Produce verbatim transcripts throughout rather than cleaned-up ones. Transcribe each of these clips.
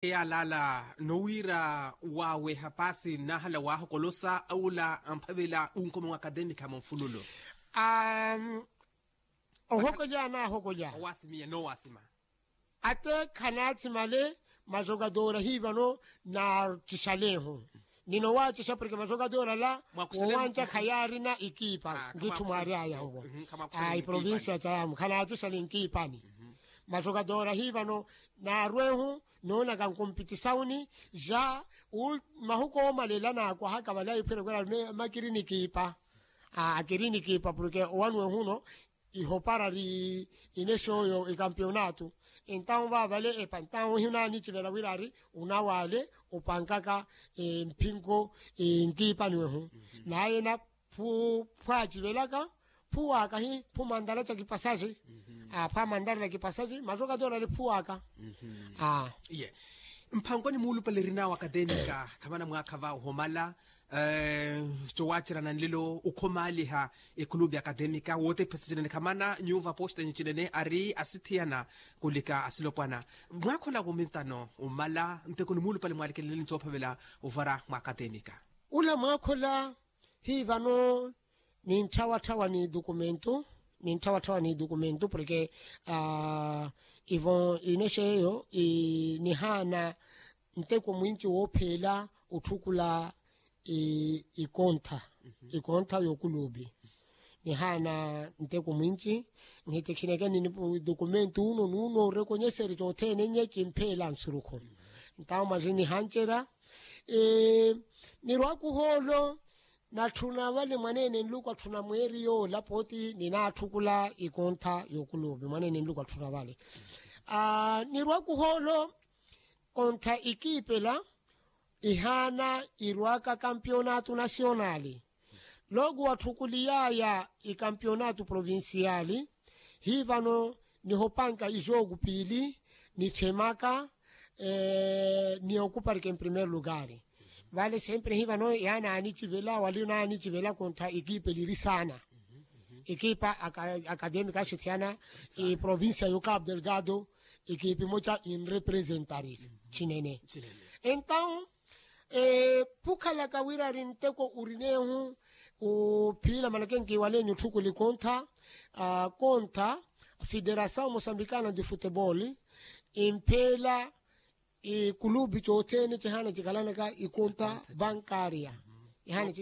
Yaalala nowiira wawe hapasi nnahala wahokolosa awula amphavela unkoma wa akademika munfululu. Amm ohokolya nahokolya owasimiya nowasima. Ate khanatsimale majogadora hivano naatixalehu. Nino waatixapureke majogadora ala wowanja khayarina ikipa ngitthu mwaari aya huvo. Iprovincia cayamu khanatixale nkipani. Majogadora hivano naarwehu noonaka nkumpitisauni ja mahuku omalela nakwahaka vale aiphwere kwera makiri nikipa. Akiri nikipa purke owanwe huno ihopara ri inexoyo ikampionato. Entawu vavale epa entawu hiunanicivela wirari unawale upankaka mpinko nkipani wehu. Naye na phu phu acivelaka phu waka hi phu mandala ca kipasaci. Phu amandala ca kipasaci matoka tona li phu waka. Iye mphankoni muulupale erinawo akademika khamana mwaakha va ohomala. Cowacerana nlelo okhomaliha ekulubi akademika wotephesa cinene khamana nyuva posta nyi cinene ari asithiyana kulika asilopwana. Mwaakhola womintano omala ntekoni muulupale mwalikeleleni coophavela ovara mwa akademika. Ula mwaakhola hi vano nintthawatthawani dukumentu nintthawatthawani dukumentu porke ivo inexeyo nihaana nteko mwinci woopheela otthukula ikontha ikontha y'okulupi. Nihaana nteko mwinci nhitikhineke ni dukumentu uno nuno orekonyeseri cothene nye cimpheela nsurukhu. Ntawo mwazi nihancerya nirwakuhoolo natthuna vale mwaneene nluku atthuna mweeri yoola pooti ninaatthukulla ikontha y'okulupi mwaneene nluku atthuna vale. Nirwakuhoolo kontha ikiipela ihaana irwaka kampionaatu nasiyonali. Looku watthukuliyaya ikampionaatu provinsiyali hi vano nihopanka ijooku piili nitthemaka ni okuparika emprimeiro lugari. Vale sempre hi vano yaananicivela wali nanicivela kontha ekipa eliri saana. Ekipa akademika axithyana eprovincia yo cabo delgado ekipa emoca enrepresentari cinene. Entawu phukhalaka wira ari nteko urinehu uphiila manake nkiwaleni otthukuli kontha kontha federasaw mosambikana de futebol impheela ikulupi cothene cihaana cikalanaka ikonta bankaria. Ihaana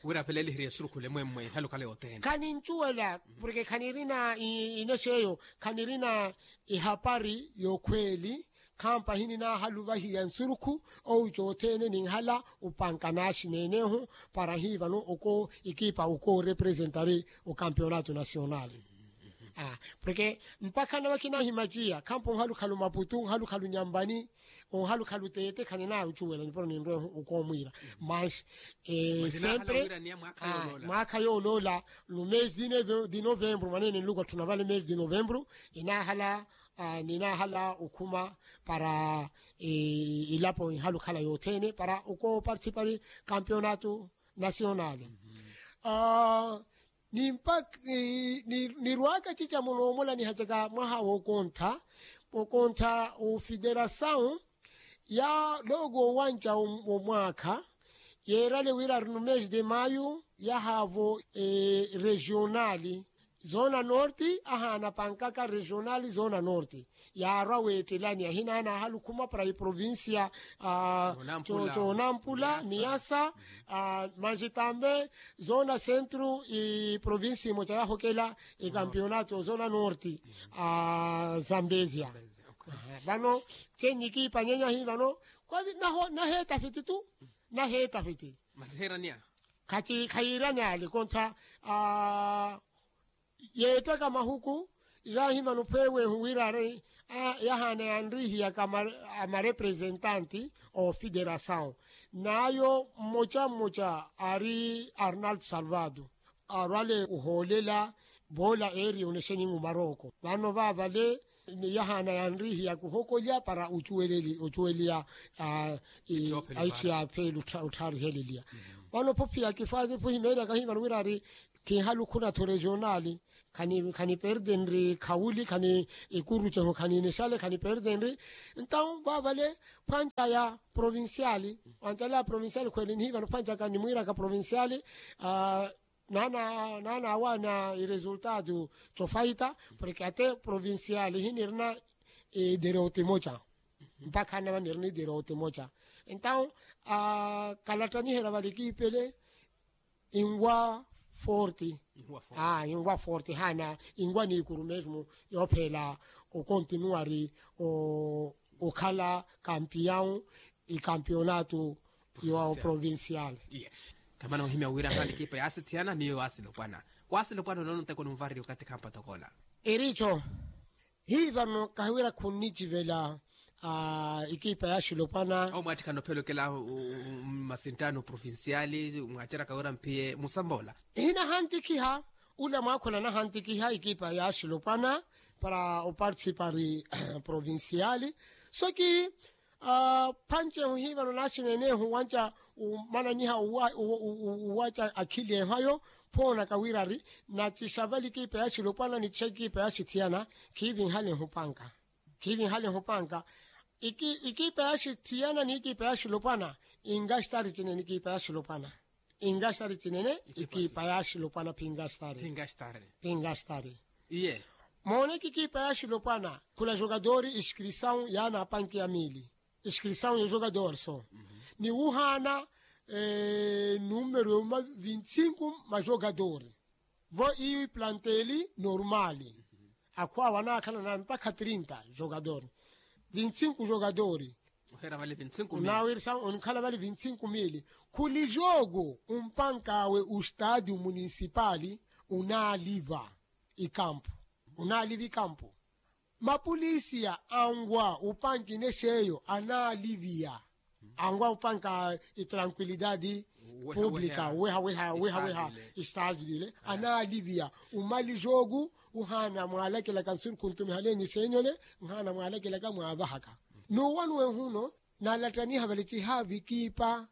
wira aphela elihiriya esurukhule mwemmwe ihalukhala yothene. Khanincuwela porke khanirina inexeyo khanirina ihapari y'okhweeli. Khampa hininahaluvahiya nsurukhu owu cothene ninhala upanka naaxineenehu para hi vano oko ikipa okoorepresentari okampionato nasional. Porke mpakha nawe khinahimaciya khampa onhalukhalu maputu onhalukhalu nyampani onhalukhalu teete khaninaya ocuwela nipuro ninrwehu okoomwiira. Mas sempre mwaakha yooloola no mesi di novembro mwaneene nluku atthuna vale mesi di novembro inahala ninahala okhuma para ilapo inhalukhala yothene para okooparticipari kampionato nasional. Nimpa nirwaka cicamuloomolaniha caka mwaha wookontha wookontha ofederasaw ya looku owanca womwaakha yeerale wira ari no mesi de mayu yahaavo regionali zona norte ahaana pankaka regionali zona norte. Yaarwa weettelani ahina anaahala okhuma para iprovincia conampula niyasa manji tambe zona centro iprovincia imoca yahokela ekampionato zona norte. Zambezia vano chenyi kiipanyenya hi vano kwasi naheetafiti tu naheetafiti. Khayiirani ale kontha yeettaka mahuku. Jahimana ophwewehu wira ari yahaana yanrihiyaka amarepresentante ofederasaw nayo mmoca mmoca ari arnaldo salvado arwale ohoolela boola eri onexeningu maroko vano vavale yahaana yanrihiyaka ohokolya para ocuweliya aici ya apheli otthariheleliya. Vano phophiya kifwazi phuhimeeryaka hivano wira ari kinhalukhuna tho regionali khaniperdenri khawuli khani ikurucehu khaninixale khaniperdenri. Entaw vavale phwanca ya provinciali, wanca la provinciali khwele nihivano phwancaka nimwiraka provinciali. Nana awana iresultado cofaita porke ate provinciali hinirina iderote moca mpakha nava nirina iderote moca. Entaw kalattaniherya vali kipele inwa forte. Inwa forte hana inwa ni ikuru mesmo yophela okontinuari okhala kampiyawu ikampiyonatu yo provincial. Tamana ohimya wira hana ekipa yaasithiyana niyo waasilopwana. Waasilopwana onono nteko nunvarerya okathi khampatokona. Erico hivano kahiwira khunnicivela ekipa ya axilopwana. Omwaattikhana ophelokela mmasinttano provinciali mwaaceraka wira mphiye musamboola. Hinahantikhiha ula mwaakhula nahantikhiha ekipa ya axilopwana para oparticipari provinciali. Soki phancehu hivano naxinenehu wanca umananiha uwaca akhili ehayo. Phoonaka wirari nacixa vali ekipa ya axilopwana nixixa ekipa ya axithiyana. Khiivinhale ehupanka khiivinhale ehupanka. Ekipa ya axithiyana ni ekipa ya axilopwana inkastari cinene ekipa ya axilopwana. Inkastari cinene ekipa ya axilopwana phi inkastari. Phi inkastari. Iye mooneke ekipa ya axilopwana khula jogadori iskrisawu yaana apanki ya mili. Iskrisawu ya jogadori so ni wuhaana numero yuma vinti sinku ma jogadori. Vo iyo iplanteli normali akhuwa wanaakhala na mpakha trinta jogadori. Vinti sinku jogadori. Oheera vale vinti sinku mili. Onkhala vale vinti sinku mili. Khuli jogo umpankawe ustadio munisipali unaaliva ikampu. Unaaliva ikampu. Mapulisiya anwa upanka inexeyo anaaliviya. Anwa upanka itranquilidadi publika weha weha weha weha. Istadi ile anaaliviya umali jogu uhaana mwaalakilaka nsurukhu ntumihalenyi senyole nhaana mwaalakilaka mwaavahaka. Nuwanuwe huno naalattaniha vale cihaavi ekipa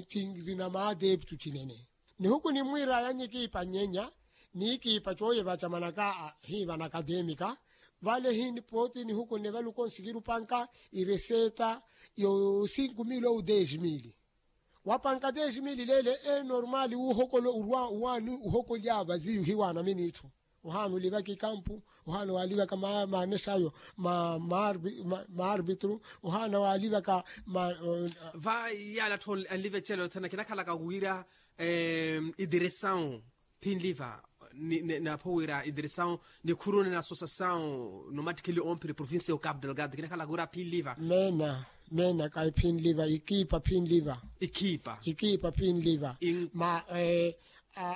cinrina maadeptu cinene. Nihuku nimwiiraya nyikiipa nyenya niikiipa cooyevaca manaka hiiva na akademika. Vale hini pooti nihuku nne vale ukonsikiru panka ireseta yo sinku mili ou dez mili. Wapanka dez mili leele enormali wuhokolo urwa uwaani uhokolya vaziyu hiwaana minitthu. Ohaana olivaka ikampu ohaana waalivaka maanexayo ma maarbitru ohaana waalivaka. Va yaala atthu anliva ecelo thana kinakhalaka wira idiresawu phinliva napho wira idiresawu nikhuruni na asosasawu nomattikheli omphiri provincia ya ocapo delgado kinakhalaka wira phinliva. Meena meena kayi phinliva ikiipa phinliva. Ikiipa ikiipa phinliva. Ma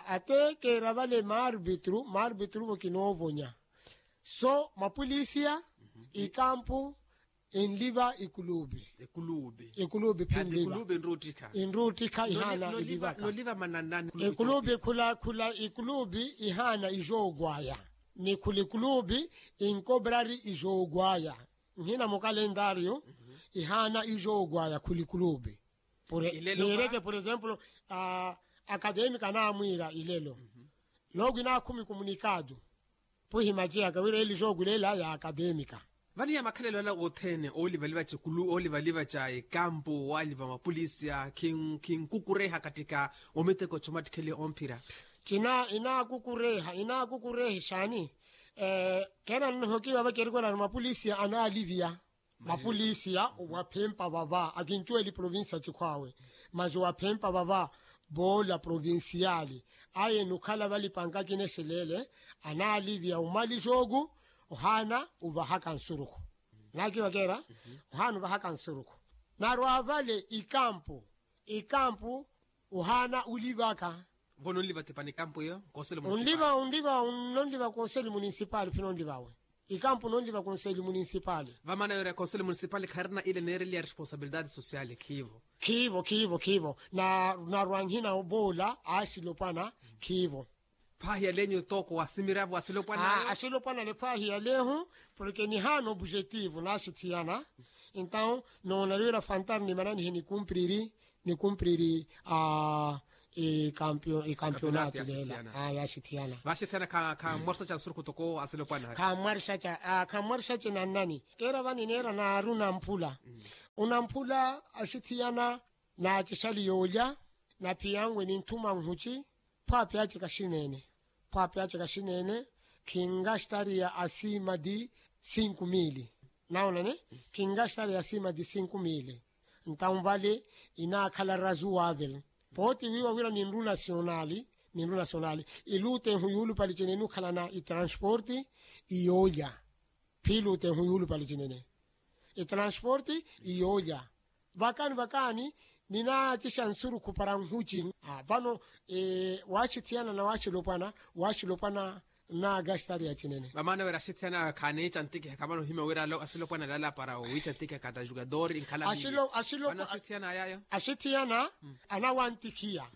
ate keera vale maarbitru maarbitru vo kinoovonya. So mapulisiya ikampu enliva ikulubi. Ikulubi phinliva. Inruttikha ihaana ilivaka. Ikulubi khula khula ikulubi ihaana ijoogwaya. Ni khula ikulubi inkobrari ijoogwaya. Nhina mukalendario ihaana ijoogwaya khula ikulubi. Niireke por exemplo akademika naamwiira ilelo. Loogu inaakhumi kumunikado. Puhi maciyaka wira eli jogu leela ya akademika. Vani ya makhalelo ala othene oolivaliva ca ekulu oolivaliva ca ekampu owaaliva mapulisiya khinkukureha katika omiteko comattikheliha omphira. Cina inaakukureha inaakukureha ixaani. Keena nnohokiwa vacerikwerani mapulisiya anaaliviya. Mapulisiya waphempa vava akincuweli provincia cikhwaawe. Masi waphempa vava voola provinciali aye nukhala valipanka kinexeleele. Anaaliviya umali jogu ohaana uvahaka nsurukhu. Naakivakeera ohaana uvahaka nsurukhu. Narwa vale ikampu ikampu ohaana ulivaka. Vo nonliva tipani kampu iyo. Onliva onliva nonliva konseli munisipali phi nonlivawe. Ikampu nonliva konseli munisipali. Vamaana yooreya konseli munisipali kharina ile neereliya responsabilidade sosiali khiivo. Khiivo khiivo khiivo. Narwa nhina voola axilopwana. Khiivo. Phahi yalenyu tooko wasimiravo axilopwana axilopwana ale phahi yalehu. Porke nihaana objetivo naxithiyana. Entaw noona liwira fantari nimananihe nikumpriri nikumpriri a Ikampionato leela. Yaaxithiyana. Vaaxithiyana khammwarisaca nsurukhu toko asilopwana. Khammwarisaca nannani keera vani neera naaru namphula. Unamphula axithiyana. Naacixali yoolya. Naphiyanwe ninthuma nhuci. Phwaapi ace kaxineene. Phwaapi ace kaxineene. Khingaxtariya asiima ti sinku miili. Nawonani. Khingaxtariya asiima ti sinku miili. Ntawu vale inaakhala razu wavel. Pooti wiiwa wira ninru nasionali. Ninru nasionali. Iluutehu yuulupali cinene ukhalana itransporti. Iyoolya. Phiiluutehu yuulupali cinene. Itransporti. Iyoolya. Vakaani vakaani. Ninaatixa nsurukhu para nhuci. Vano waaxithiyana na waaxilopwana. Waaxilopwana. Naagaxtariya cinene. Vamaana wira axithiyana khaaniica ntikiha khamana ohimya wira asilopwana lala para owiica ntikiha khata jugador inkhala. Vano axithiyana ayayo. Axithiyana. Anawantikiya.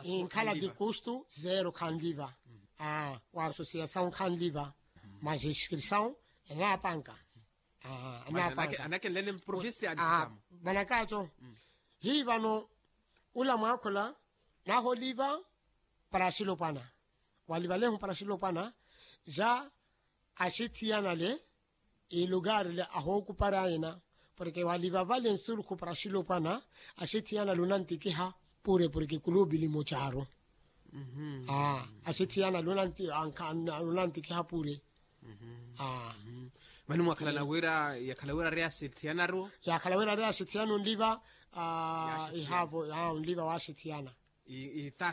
Inkhala ti kustu zero khanliva. Wa asosiyasawu khanliva. Majiskrisawu. Anapanka. Anapanka. Manakaco. Hii vano ula mwaakhula. Naholiva para axilopwana. Walivalehu para axilopwana. Ja axithiyanale. Ilugarile ahookupara ina. Porke waliva vale nsurukhu para axilopwana. Axithiyanale onantikiha pure porke kulubi limocaru. Axithiyanale onantikiha pure. Mani mwakhalana wira yakhala wira ari axithiyana ru. Yakhala wira ari axithiyana onliva. Ihaavo onliva waaxithiyana.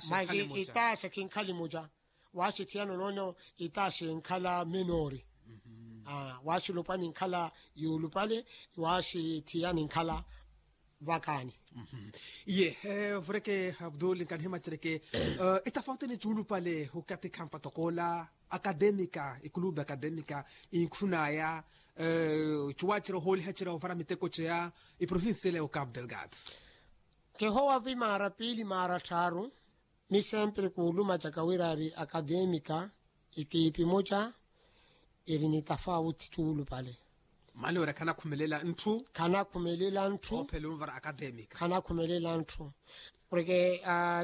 Mahi itaaxa khinkhali muca. Waaxithiyana onoono itaaxa inkhala menori. Waaxilopwana inkhala yuulupale. Waaxithiyana inkhala vakaani. Iye. Vureke abdul nkanihimacereke itafauti ni cuulupale okathi khampa tokoola. Akademika ikulubi akademika inkhunaya. Cuwacira ohooliha cira ovara miteko ceya iprovincia ile ya okapu delgado. Kihowa vi maara piili maara tthaaru. Mi sempre kuulumacaka wira ari akademika ikiipi moca iri ni tafauti cuulupale. Mani wira khanakhumelela ntthu. Khanakhumelela ntthu. Ophela onvara akademika khanakhumelela ntthu. Porke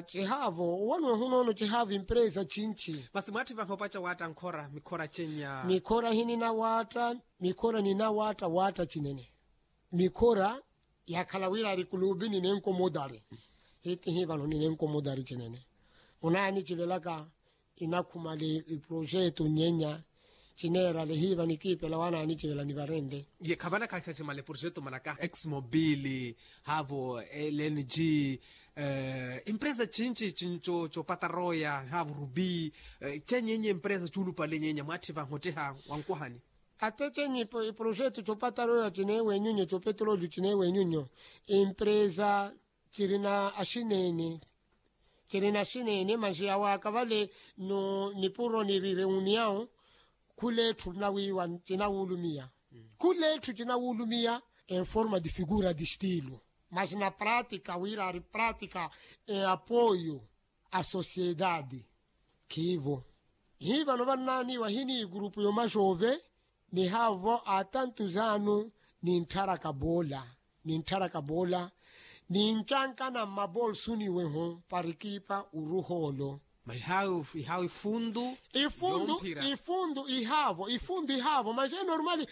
cihaavo owanwe hunoono cihaavo empresa cinci. Masi mwaatthi vaha opaca waatta nkhora mikhora cenya. Mikhora hininawaatta. Mikhora ninawaatta waatta cinene. Mikhora yakhala wira ari kulubi ninenkomodari. Hitihi vano ninenkomodari cinene. Onaanicivelaka inakhumale iprojeto nyenya. Cineerale hiiva nikiipela wanaanicivelani varente. Ye khavana kahikhacimale projeto manaka exmobile haavo lng. Empresa cinci cinco copataroya haavo rubi. Cenyenye empresa cuulupale nyenya mwaatthi vahotteha wankwahani. Ate cenyi iprojeto copataroya cineewenyunyo copetrolio cineewenyunyo. Empresa cirina axineene. Cirina axineene manxiya waaka vale. Nipuro niri reuniyawu khula etthu nawiiwa cinawulumiya. Khula etthu cinawulumiya. Enforma di figura di stilu. Mas na pratika wira ari pratika eapoyo a sosiedadi. Khiivo. Hii vano vannaaniwa hini igurupu yomaxoove. Nihaavo atantu zaanu nintharaka boola. Nintharaka boola. Nincankana mmabolsuni wehu para ekipa oruha olo. Mas ihaawi ifundu. Ifundu. Ifundu ihaavo ifundu ihaavo mas enormali.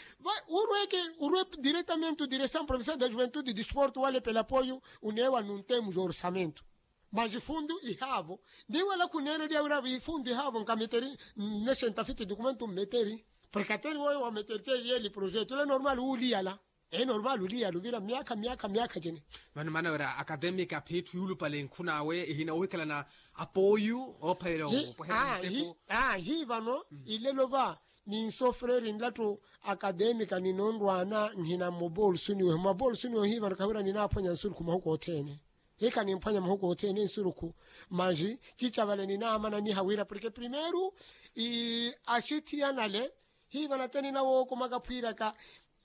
Urweke urwe diretamente diresamu profesor da juventude disportu wale pelapoyu. Uneewa nunteemu jorsamento. Mas ifundu ihaavo. Niwela khuneereliya wira ifundu ihaavo nkameteri. Nne xentafiti dukumento mmeteri. Porke ateri woyo wameteri teiye eli projeto ila normal wuliyala. Enormal uliyala ovira myakha myakha myakha cene. Vano maana wira akademika phiitthu yuulupale nkhunaawe ihina ohikhalana apoyu oophalela opweherya miteko. Hii vano ilelo va ninsofreri nlattu. Akademika ninonrwaana nhina mmobolsuni wehu mmabolsuni wehu hii vano khawira ninaaphwanya nsurukhu mahuku othene. Hikha nimphwanya mahuku othene nsurukhu. Manji cica vale ninaamananiha wira porke primeiro axithiyanale. Hii vano ate ninawookomaka phwiiraka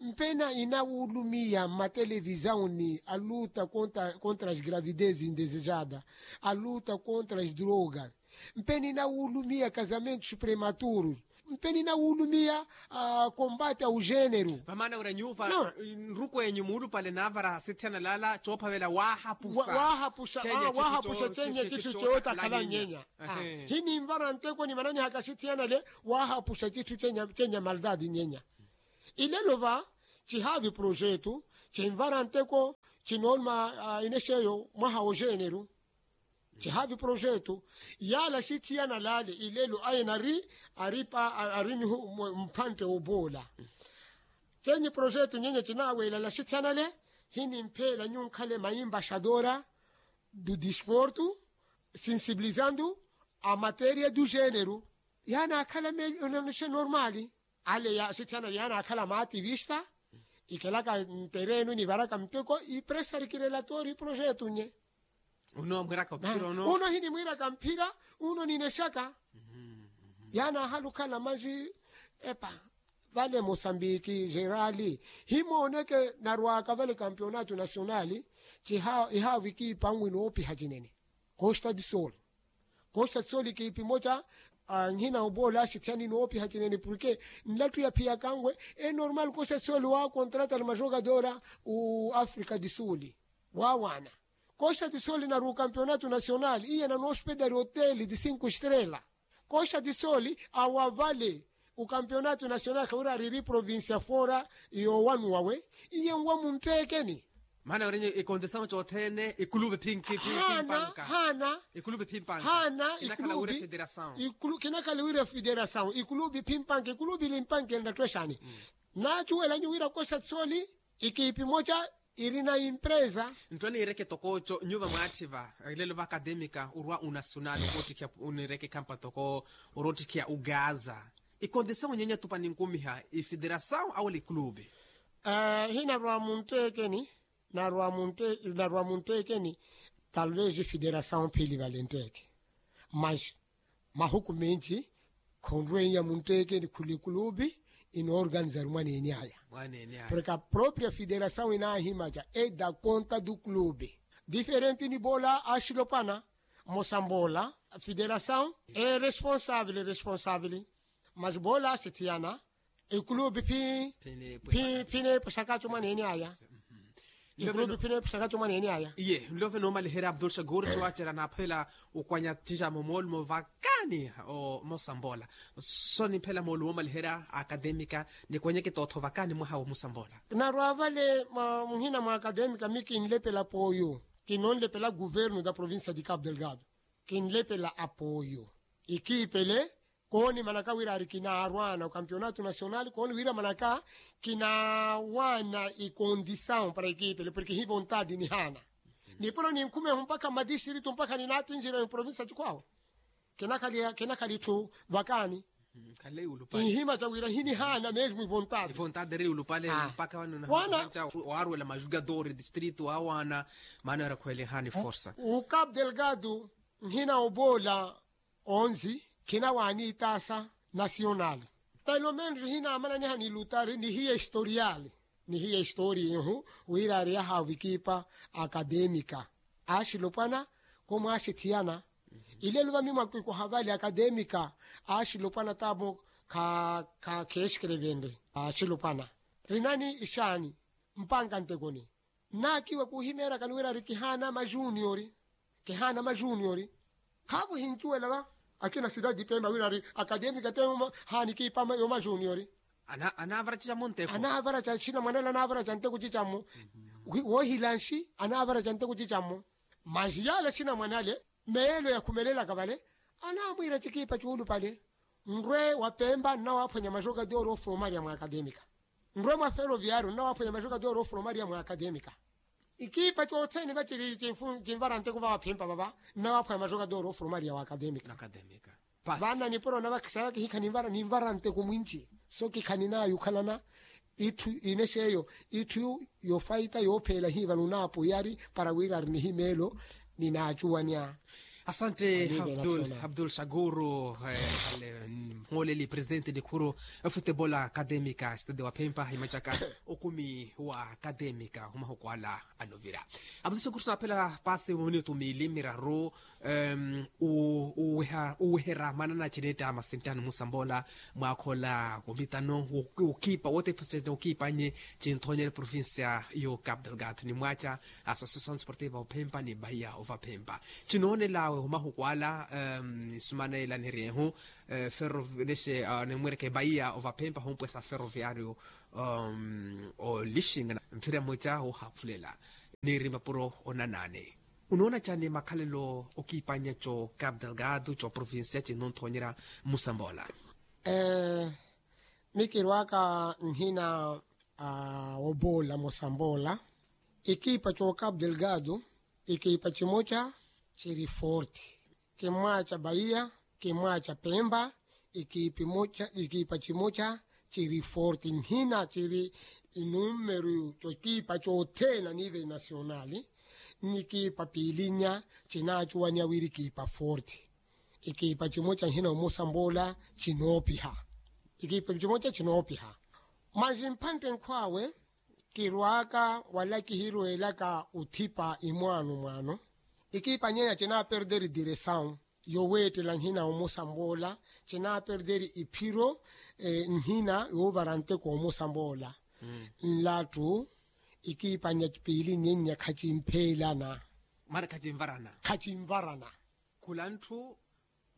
mpena inawulumiya mmatelevisauni aluta contra as gravidez indesejada. Aluta contra as drogas. Mpena inawulumiya casamentos prematurus. Mpe ninawulumiya kombati a ujeeneru. Vamaana wira nyuva nrukwenyu muulupale naavara sithiyana laala coophavela waahapusa. Waahapusa cenya citthu cootakhala nyenya. Hininvara nteko nimananihaka sithiyana le. Waahapusa citthu cenya maldadi nyenya. Ilelo va cihaavi projetu cinvara nteko cinooluma inexeyo mwaha wojeeneru. Cihaavi projetu yaala sithiyana laale ilelo ayena ari ari pa ari nihu mphantte woboola. Cenyi projetu nyenya cinaaweelala sithiyana le. Hinimpheela nyunkhale maimbaxadora du disportu sinsibilizandu a materia du jeneru. Yaanaakhala meyo nonxe normali ale sithiyana yaanaakhala maativista ikelaka nterenu nivaraka mteko ipresarikirelatori projetu nye. Uno hinimwiraka mphira uno ninexaka. Yaanaahala okhala manji epa vale mosambiki jerali himooneke narwaka vale kampionatu nasionali. Ihaavikipa nwinoopiha cinene costa di sol. Costa di sol ikiipi moca nhina oboola axithiya ninoopiha cinene porke nlattu yaphiyakanwe enormal costa di sol waakontrata na majokadora. Uafrika di sul waawaana costa di sol narwa ukampionatu nasional iye nanoospedari oteli di cinco estrela. Costa di sol awa vale ukampionatu nasional khawira ariri provincia fora yoowanuwa we iye nwa muntteekeni. Maana wira nyi ikondisawu cothene ikulupe phinki pimpanka. Haana ikulupe pimpanka haana ikulupe. Kinakhala wira federasawu ikulupe pimpanka ikulupe ilimpanka ennatthu exaani. Naacuwela nyu wira costa di sol ikiipi moca irina impresa. Ntthu aniireke tokooco nyuva mwaatthi va ilelo va akademika orwa unasional oroottikhiya oniireke ikhampa tokoo oroottikhiya ugaza. Ikondisawu nyenya tupa ninkumiha ifederasawu awela ikulupe. Hinarwa muntteekeni narwa muntteekeni talvez ifederasawu phili vale ntteeke. Mas mahuku menci khonrweinya muntteekeni khula ikulupe inoorganizari mwaneeni aya. Porke apropria federasawu inaahimaca eda konta du clube diferenti ni boola axilopana. Mosamboola federasawu eresponsavili responsavili mas boola axithiyana ikulupe phi phi phi neepwexakaco mwaneeni aya. Ikulupe phi neepwexakaco mwaneeni aya. Iye nlove noomaliherya abdul shakur cowaacerya naaphela okwanya cicamo moolumo vakaani. Mosamboola so nimphela moolumo omaliherya akademika nikwenyeke tootho vakaani mwaha wa mosamboola. Narwa vale muhina mwa akademika mi kinlepela apoyo kinonlepela guvernu da provincia di cabo delgado. Kinlepela apoyo ikiipele koonimanaka wira ari kinaarwana okampionatu nasional kooni wira manaka kinaawana ikondisawu para ikiipele porke hi vontadi nihaana. Nipuro ninkhumehu mpakha mmadistritu mpakha ninaatinjira emprovinsa cikwaawe. Kinakhali etthu vakaani. Ihimaca wira hinihaana mesmo ivontadi. Waarwela majugador distritu waawaana maana wira khweelihani forsa. Ucabo delgado nhina oboola onzi khinawaani itaasa nasional. Pelo menos hinamananiha ni lutari nihiya historiali nihiya historia ihu wira ari yahaavu ikipa akademika. Axilopwana komwaaxithiyana ilelo vamimwa kikoha vale akademika. Axilopwana tamo kheeskerevenre axilopwana rinani ixaani mpanka ntekoni. Nnaakiwa kuhimeerakani wira ari kihaana majuniori kihaana majuniori. Khaavo hincuwela va akina sidadi pemba wira ari akademika te haanikiipa yo majuniori. Anaavaraca cinamwanale anaavaraca nteko cicammo. Woohila nxi anaavaraca nteko cicammo. Mas yaale cinamwanale meelo yakhumelelaka vale anaamwiira cikiipa cuulupale. Nrwe wa pemba nnawaaphwanya majogador ofuromariya mwa akademika. Nrwe mwa feroviario nnawaaphwanya majogador ofuromariya mwa akademika. Ikiipa cothene vaciri cinvara nteko vavaphimpa vava nnawaaphwanya majogador ofuromariya wa akademika. Vana nipuro navakisaraka hikha ninvara nteko mwinci. So kikhaninaya okhalana itthu inexeyo itthu yofaita yoopheela hiiva nunaapoyari para wira ari nihimeelo. Ninaacuwanya Asante abdul abdul shakuru. Mhooleli presidente nikhuru efutebol akademika estade wa phempa imacaka okumi wa akademika ohumahuku ala anovira. Abdul shakuru saaphela paasi minutu miili miraru. Uweherya maana na chinetta masintani musamboola mwaakhola womitano wokiipa wote presidente wokiipa nye chinthonyerya provincia yo capital gat ni mwacha association sportive ophempa ni bahiya ovaphempa. Chinoonelawe omahuku ala nisumanela niryehu ferro nexe nimwereke bahiya ovaphempa hompwesa ferroviario olixinga mphira mweca ohaphulela. Niri mapuro onanani unoona chani makhalelo okipanyacho capital gado cho provincia chinonthonyera musamboola. Mikirwaka nhina woboola musamboola. Ikipa cho capital gado ikipa chimocha chiri forti. Kimwacha bahiya kimwacha pemba. Ikipa chimocha chiri forti nhina chiri inumeru chokipa chothene anive nasionali. Nyikipa piilinya chinachuwaniya wiri kipa forti. Ikipa chimocha nhina omusamboola chinoopiha. Ikipa chimocha chinoopiha. Manji mphantte nkhwawe kirwaka wala kihirweelaka othipa imwaano mwaano. Ikipa nyenya chinaperderi diresawu yoweettela nhina omusamboola chinaperderi iphiro nhina yoovara nteko omusamboola. Nlattu ikipa nya piili nyenya khachimpheelana. Maana khachivarana. Khula ntthu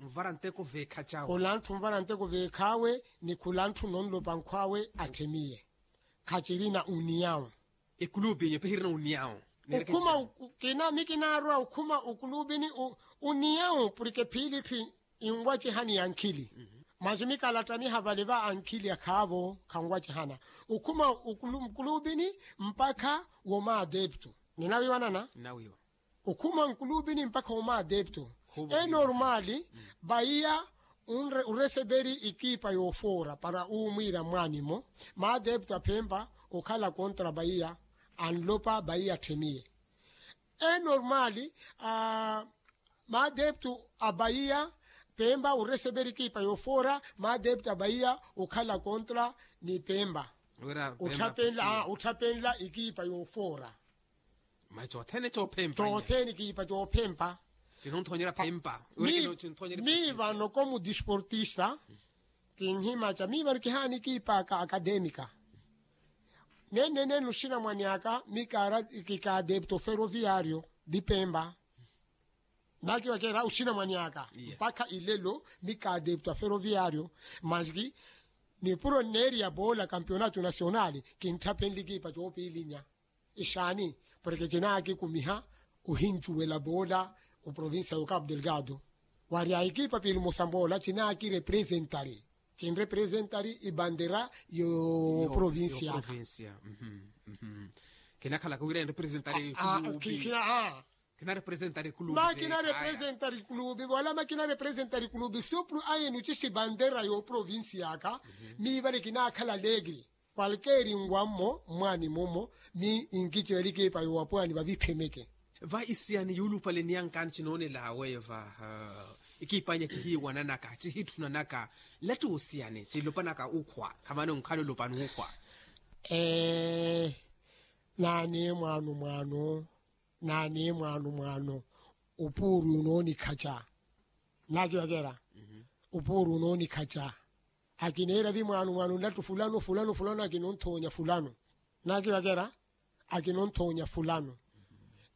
nvara nteko veekhachawe. Khula ntthu nvara nteko veekhawe ni khula ntthu nonlopa nkhwawe atthemiye. Khachirina uniyawu. Ekulupi enye pehirina uniyawu. Okhuma kina mikinarwa okhuma okulupini uniyawu porke phiili tthi inwacihani ya nkhili. Manji mikalattaniha vale va ankhili akhaavo khanwacihana okhuma okulupini mpakha womaadeptu. Ninawiiwanana. Okhuma nkulupini mpakha omaadeptu. Enormali bahiya ureseperi ikipa yoofoora para umwiira mwaanimo maadeptu aphempa okhala kontra bahiya anlopa bahiya atthemiye. Enormali maadeptu a bahiya pempa oreseperi ikipa yoofoora maadeptu a bahiya okhala kontra ni pempa. Otthapenla ikipa yoofoora. Mayi chothene chophempa chothene kiipa chophempa. Kinonthonyera phempa. Miivano komu disportista kinhimacha miivano kihaani kiipa aka akademika. Nennene nuxinamwani aka mikaara kikaadepto feroviario di pempa. Nakiwakera oxinamwani aka mpakha ilelo mikaadepto feroviario. Manji nipuro nneeriya boola kampionato nasionali kintthaphenle kiipa choopiilinya. Ixaani porke cinaakikumiha ohincuwela boola oprovincia yo capu delgado. Wari a ekipa piili musamboola cinaakirepresentari cinrepresentari ibandera yo provincia. Kinakhalaka wira enrepresentari kina a kina representari kulubi ma kina representari kulubi wala ma kina representari kulubi supru aye nucisi bandera yo provincia aka. Mi vale kinakhala alegre kwalkeri nwa mmo mmwani mummo mi nkici vale ekipa yo wapwani vavithemeke. Va isiyani yuulupale niyankani cinoonelawe va ikipanya cihiiwananaka cihitthunanaka nlatti osiyani cilopanaka ukhwa khamani onkhala olopani ukhwa. Ee naani mwaano mwaano naani mwaano mwaano opuuru onoonikhaca. Naakiwakera opuuru onoonikhaca akineera vi mwaano mwaano nlattu fulano fulano fulano akinonthoonya fulano. Naakiwakera akinonthoonya fulano.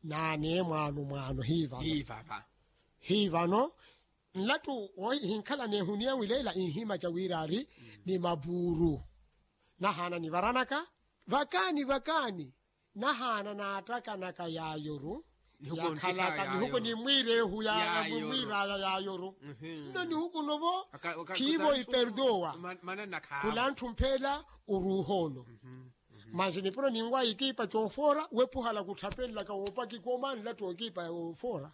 Naani mwaano mwaano hiivano hiivano nlattu hinkhala neehuniya wileela inhimaca wira ari ni mapuuru. Nahaana nivaranaka vakaani vakaani nahaana naattakanaka yaayoru. Yakhalaka mihuko ni mwiireehu ya mwiiraya yaayoru. Nno nihukuno vo khiivo iperdowa khula ntthu mpheela oruuha ono. Manji nipuro ninwaya ekipa coofoora wepuhala kutthapenlaka woopaki komanlattu ekipa yoofoora.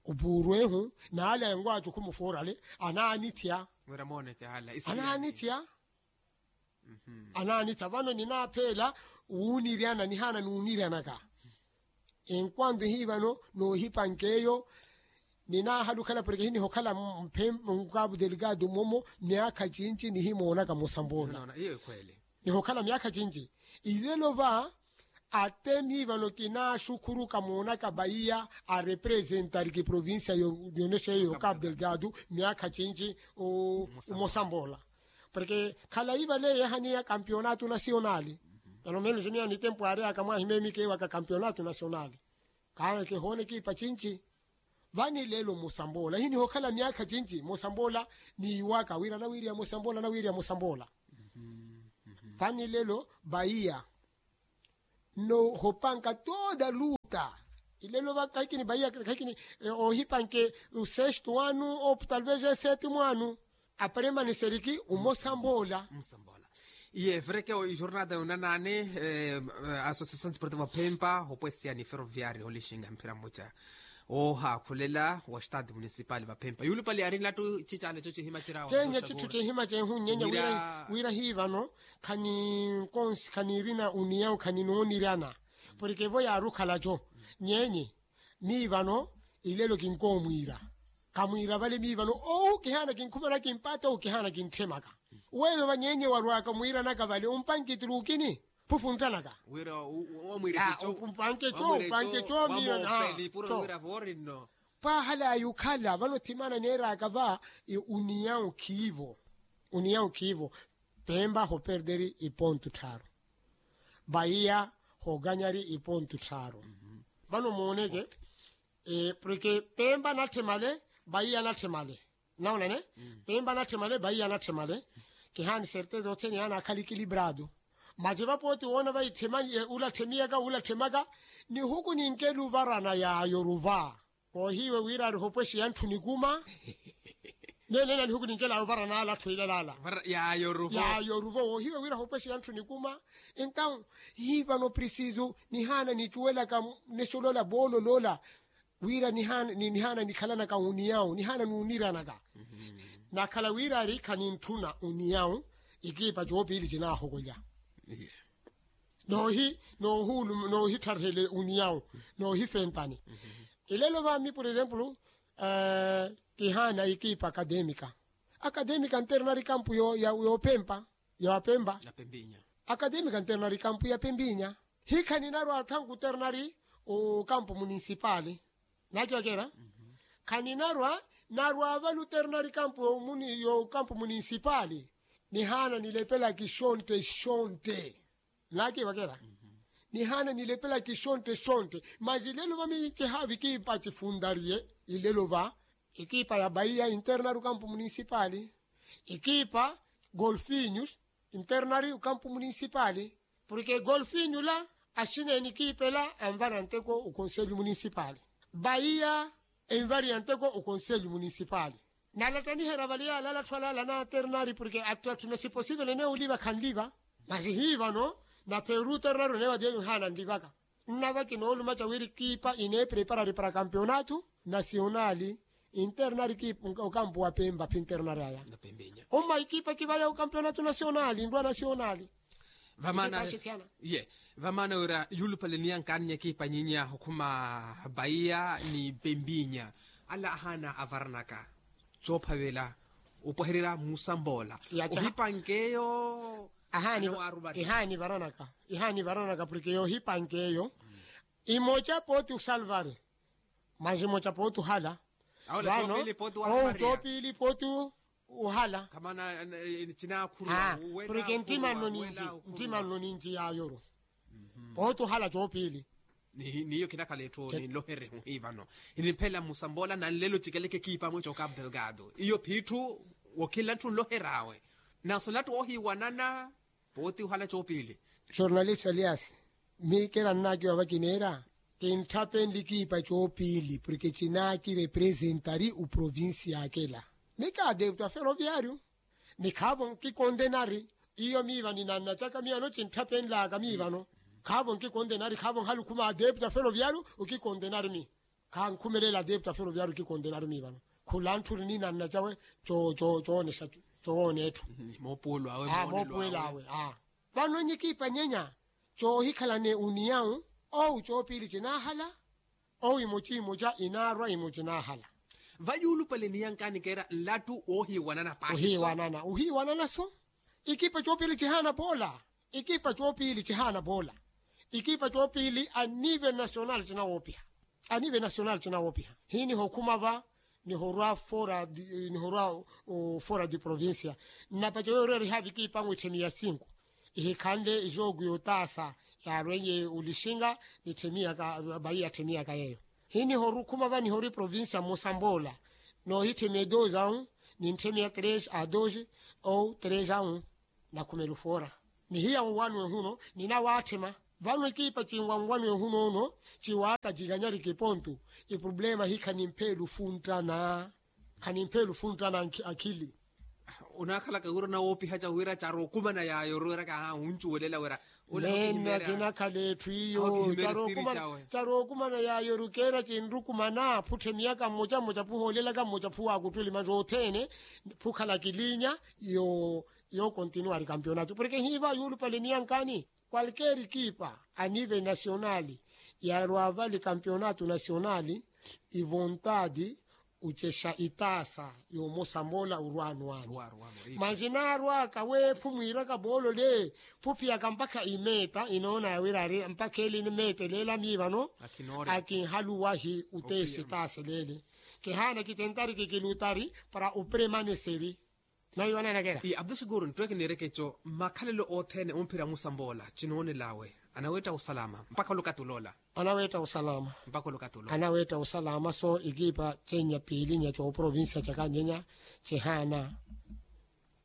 Opuuru ehu naale enwaacu khumufoorale anaanithya. Anaanithya anaanitha vano ninapheela wuuniryana nihaana nuuniryanaka. Enkwando hii vano noohipanka eyo Ninahala okhala porke hiniho okhala mphempa nkapu delikatu momo myaakha cinci nihimoonaka musambula. Nihokhala myaakha cinci. Ilelo va ate mivano kinaxukhuruka moonaka vaiya arepresentari ki provincia yonexeyo yo kapu delikatu myaakha cinci. Omosamboola porke khalayi vale yeehaniya kampionato nasionali. Pelo menos miya nitempo ari akamwahi memikeewaka kampionato nasionali. Kaana kihoona ekipa cinci. Vani lelo musamboola hiniho okhala myaakha cinci musamboola. Niiwaka wira anawiiriya musamboola anawiiriya musamboola. Vani lelo vaiya nno hopanka toda luta. Ilelo va khahikini vaiya khahikini ohipanke. Usestu wanu ou talvez esetu mwanu. Aparemaneseriki umosamboola. Iye efereke ijornada yonanani. Associação desportiva phempa hopwesiya ni ferroviario olixinga mphira mmuca oohakhulella wa estade municipal vaphempa yulupali arinlattu cicaleco cihima cirawa. Cenye cithu cihima cehu nyenya wira hivano khani nkonsi khani irina uniyawu khani noonirana porke vo yaarukhalaco. Nyenye mivano ilelo kinkoomwiira. Kamwiira vale mivano owu kihaana kinkhumanaka kimpata owu kihaana kintthemaka. Weyo vanyenye warwaka mwiiranaka vale umpanki truukini phufunttanaka. Wira omwiira mpanke co mpanke co mivano. Pwahala yukhala vano thimana neeraka va. Uniyawu khiivo. Uniyawu khiivo. Pempa hoperderi ipontu tthaaru. Vaiya hoganyari ipontu tthaaru. Vano mooneke porke pempa natthemale vaiya natthemale. Naonane pempa natthemale vaiya natthemale. Kihaani certeza othene yaana akhala ekiliprado. Maci vapooti woona vaitthemanye ula atthemiyaka ula atthemaka. Nihuku ninkela ovarana yaayo ruva. Koohiiwe wira ari hopwexiya antthu nikuma. Neeneena nihuku ninkelaya ovaranala atthu ilalaala. Yaayo ruvo woohiiwe wira hopwexiya antthu nikuma. Entaw hivano prisiso nihaana nicuwelaka nexolola voololola. Wira nihaana nikhalanaka uniyawu nihaana nuuniranaka. Nakhala wira ari khanintthuna uniyawu. Ekiipa coopiili cinaahokwelya. Noohi noohuulu noohittharihelye uniyawu noohifentani. Ilelo vami por exemplo kihaana ekipa academica. Academica nternari kampu yoopempa yoopempa. Academica nternari kampu ya pempinya. Hikha ninarwa athanku ternari okampu munisipali. Nakiwakera khaninarwa narwa vale uternari kampu yo kampu munisipali. Nihaana nilepela kixontte xontte. Naakiwakera nihaana nilepela kixontte xontte. Mas ilelo va mikihavi kiipa cifuntariye ilelo va. Ekipa ya bahiya internari okampu munisipali. Ekipa golfinyus internari okampu munisipali. Porke golfinyula axineeni ekipa ela anvara nteko okonselyu munisipali. Bahiya envariya nteko okonselyu munisipali. Nalattaniherya vale yalala atthu alala na ternari porke atthu atthu nasiposivele neyo oliva khanliva. Masi hii vano napheeru ternari oneewa diye mihaana nlivaka. Nnavaki noolumaca wira ekipa ineepreparari para kampeonato nasionali. Internari ekipa okampu wa pempa phi internari aya. Omma ekipa ekivaya okampeonato nasionali nrwa nasionali. Vamaana wira yulupale niyankaani ekipa nyinya okhuma bahiya ni pempinya. Ala ahaana avaranaka coophavela opwahererya musamboola ohipankeyo. Ihaani varanaka ihaani varanaka porke yohipankeyo. Imoca pooti osalvari. Mas imoca pooti ohala. Vano ou coopili pooti ohala. Porke ntima nno ninci ntima nno ninci yaayoro. Pooti ohala coopili. Niyo kinakhala etthu ninloherye muhii vano. Inimphela musamboola nanlelo cikeleke ekipa mweco cabo delgado iyo phiitthu. Wokhinla ntthu nloheryawe naso nattu oohiwanana. Pooti ohala coopili. Jornalista elias, miikela nnaakiwa vakineera kintthapeni likiipa coopiili porke cinaakirepresentari oprovincia akela. Ni ka adepto a feroviario. Ni khaavo nkikondenari. Iyo miiva ninannacaka miya no cintthapeni laaka miivano. Khaavo nkikondenari khaavo nhalukhuma adepto a feroviario. Okikondenari mi khankhumelela adepto a feroviario okikondenari mi vano. Khula ntthuri ninanna cawe coonexa cowoona etthu. Moopuwelo awe. Vano enyikiipa nyenya coohikhalane oniyawu. Owu coopiili cinaahala. Owu imoca imoca inaarwa imoca inaahala. Va yuulupale niyankani keera nlattu woohiiwanana paahi so. Ohiiwanana ohiiwanana so. Ikipa coopili cihaana poola. Ikipa coopili cihaana poola. Ikipa coopili a nivel nacional cinawoopiha. A nivel nacional cinawoopiha. Hiinihokhuma va nihorwa fora di- nihorwa fora di provincia. Nnapaca weererihaavi ikipa nwi tthemiya sinku. Ihikhanle ijoogu yotaasa yaarwenye olixinga. Nitthemiyaka bayi yatthemiyaka yeeyo. Hinihorukhuma va nihori provincia mmosa mboola. Noohitthemiya dos a un. Nintthemiya tres a dos. Ou tres a un. Nakhumela ofora. Nihiya wowanwe huno. Ninawatthema. Vano ekipa cinwanwanwe huno ono ciwaaka cikanyarike pontu. Eproblema hi khanimphela ofunttana. Khanimphela ofunttana akhili. Onaakhalaka wira onawoopiha ca wira carookumana yaayo ori wira kaha wuncuwelela wira. Nena kinakhala etthu iyo. Carookumana yaayo ori keera cinrukumana phutthemiyaka mmoca mmoca phuhoolelaka mmoca phuwaakuttuli manji othene. Phukhala kilinya yookontinuwari kampionato porke hiiva yuulupale niyankani. Kwalkeeri ekipa a nivel nacionali yarwa vale kampionato nacionali. Ivontadi ocexa itaasa yomosa mola orwano ano. Manji naarwaka weephu mwiiraka boolole phuphiyaka mpakha imeeta inoona yawirari mpakha eli nimeetelela mii vano. Akinhaluwahi otexa itaasa eleele. Kihaana kitentariki kilutari para operemaneseri. Nayo ananakela. Abdu shakuru nttweke niireke eco makhalelo othene omphira musamboola cinoonelawe. Anaweetta osalama mpakha olukatuloola. Anaweetta osalama mpakha olukatuloola. Anaweetta osalama so ekipa cenya piilinya cooprovincia caka nyenya cihaana.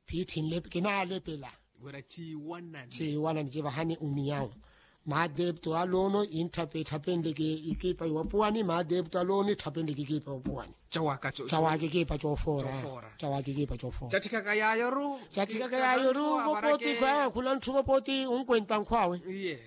Phiitthi nlepe kinaalepela. Wira ciiwanani. Ciiwanani civahani oniyawo. Maadepto alono intthapethapenleke ekipa yowapuwani maadepto alono itthapendeke ekipa yowapuwani. Cawaaka ekipa coofoora. Cawaaka ekipa coofoora. Catthikaka yaayoru. Catthikaka yaayoru vopoti khwaya khula ntthu vopoti unkwenta nkhwawe. Iye.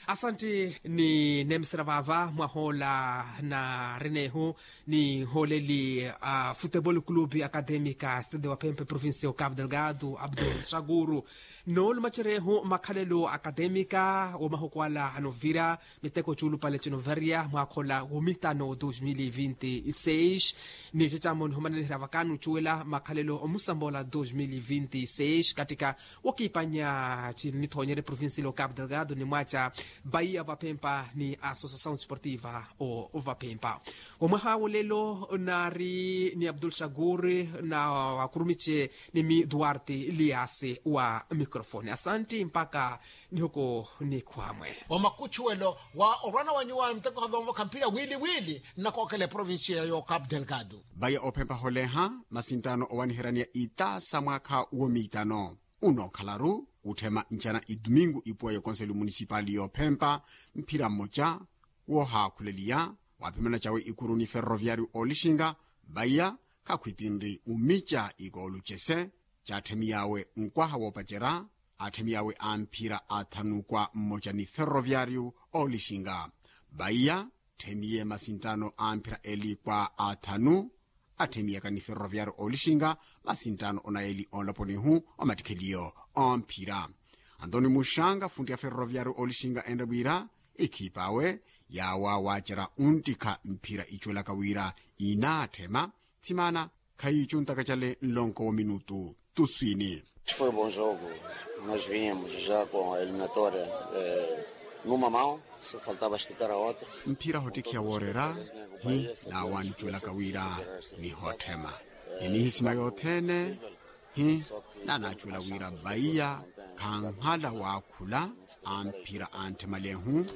Asanti. Nineemisera vaava mwahoola narinehu nihooleli a futebol club academica stade wa phempe provincia o cabo delgado abdul shakuru. Noolumaceryehu makhalelo academica womahuku ala anovira miteko cuulupale cinoverya mwakhola womitano dos mil vinti seis. Ni cecamo nihumananihira vakani ocuwela makhalelo omusamboola dos mil vinti seis katika wokiipanya cinithonyerye provincia lo cabo delgado ni mwaca. Baia vapempa ni associação desportiva o vapempa. Wamwaha wolelo nari ni abdul shakur na wakurumice ni mi duarte liase wa microfone asanti mpaka nihuku nikhwamwe. Omakuchuwelo wa orwana wa nyuwaani muteko havonvokha mphira wili wili nnakookela eprovincia yo cabo delgado. Vaya ophempa holeha masinttano owaniheraniya itaasa mwaakha womiitano. Unookhalaru utthema ncana idumingu ipuwa y'okonseli munisipali y'ophempa mphira mmoca woohaakhuleliya waaphimana cawe ikuru ni ferroviariu oolixinga. Vaiya khakhwitinri umica ikoolucese caatthemiy'awe nkwaha woopacerya aatthemiy'awe a mphira athanu kwa mmoca ni ferroviariu oolixinga. Vaiya tthemiye masinttano a mphira eli kwa athanu atthemiyaka ni ferroviariu oolixinga. Masinttano onaeli onloponihu omattikheliyo omphira antoni muxanga funtti ya ferroviariu oolixinga enre wira ikhip'awe yaawa waacerya unttikha mphira icuwelaka wira inaatthema. Thimana khayiicuntaka cale nlonko wa minutu tuswini. Foi um bom jogo. Nós vínhamos já com a eliminatória numa mão, só faltava esticar a outra. Mphira hottikhiya woorera hi naawaanicuwelaka wira nihotthema ni nihisima yothene hi naanaacuwela wira vaiya khanhala waakhula a mphira a ntthemalehu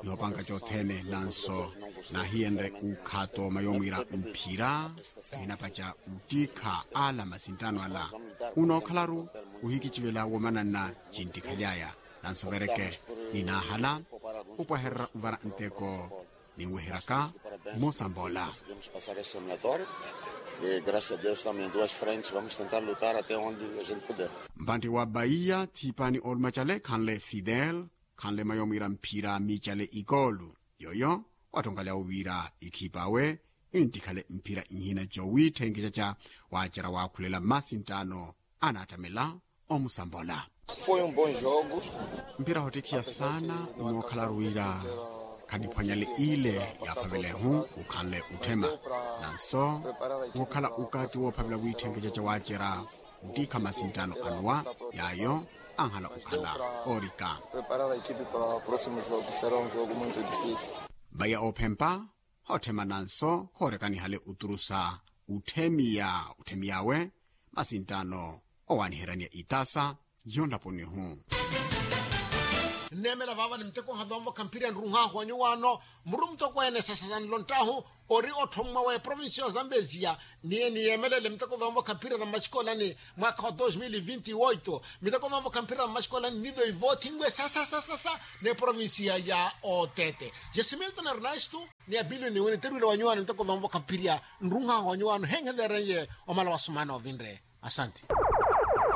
ni opanka cothene nanso naahiyenrye ukhato mayomwira mphira ahinapaca uttikha ala masinttano ala. Unookhalaru ohikicivela womananna cinttikhaly'aya nanso vereke ninaahala opwahererya ovara nteko ninweheryaka mmosa mbola. Mpantti wa baiya thipani olumacale khanle fidel khanle mayomwira mphira miicale ikoolu yoyo wattonkalyawo wira ikhip'awe inttikhale mphira inhina jowiitthenkecaca waacerya waakhulela masi nttaano anaattamela omusambola. Foi um bom jogo. Mphira hottikhiya saana onookhalaru wira Khaniphwanyale ile yaaphavelehu ukhanle utthema. Nanso wookhala ukaati woophavela wiitthenkeca ca waacerya uttiikha masinttano anuwa yaayo anhala ukhala oorika. Vaya oophempa hootthema nanso khoorekanihale uturusa utthemiya utthemiyawe masinttano owaaniheryaniya itaasa yonlaponihu. Nneemela vaavani muteko nhazoonvokha mphirya nrunhaahu wa nyuwaano muru mutokweene sasa sanlonttahu ori otthommwa wa eprovincia ya zambezia. Niye niyeemelele muteko zoonvokha mphirya za mmaxikoolani mwaakha wa dos mil vinti oito miteko zoonvokha mphirya za mmaxikoolani nizo ivoothinwe sasa sasa sasa n'eprovincia ya otete. Jesimilton ernesto ni abilio niwe niterwile wa nyuwaano miteko zoonvokha mphirya nrunhaahu wa nyuwaano henkhelereye omala wa sumana ovinre. Asanti.